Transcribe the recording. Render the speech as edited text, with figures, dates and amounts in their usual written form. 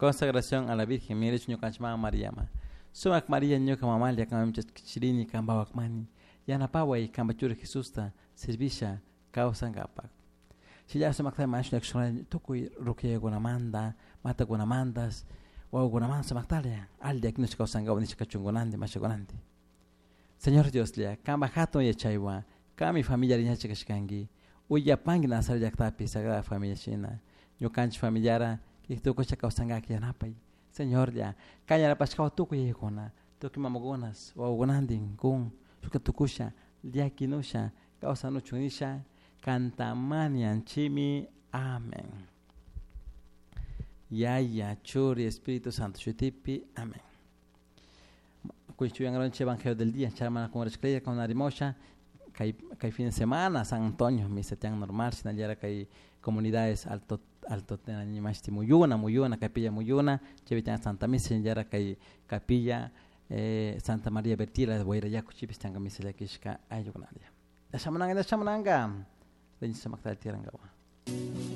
Consagración a la Virgen mirichu ñukanchik mama Mariama. Sumak Maria ñuka mamalla kanman chaskichirini kanpawak mani. Yanapaway kanpa churi Jesusta servisha kawsankapak. Shilla sumakta mañashun tukuy rukiyakunamanta, matakunamantas, wawakunamanta sumaktalla alli akinush kawsankapak nishka kachunkunanti mashakunanti. Señor Dioslla, kanpa hatun yachaywan, kanmi familia riñachi kashkanki, uyapanki Nazaret llaktapi Sagrada Familia shina, ñukanchik familiara tukusha kawsankak yanapay. Señorlla, kan yanapashkawan tukuy yayakuna, tukuy mamakunas, wawakunantin kun, shukta tukusha, llakinusha, kawsanuchun nisha, kantamanianchimi. Amén. Yaya, Churi, Espíritu Santo, Shutipi. Amén. Kuichuyangaronche Evangelio del día, charmana con con Arimosha, kay, kay fin de semana, San Antonio, misa tian normal, sinallara kay comunidades alto alto mashti muyuna, muyuna, capilla muyuna, chaypi Santa Misa, shinallara kay capilla Santa María Bertila de Guayrayacu chipis tianka misa llakishka ayllukunalla. Shamunanga, shamunanga. Rinchi sumakta tirangawa.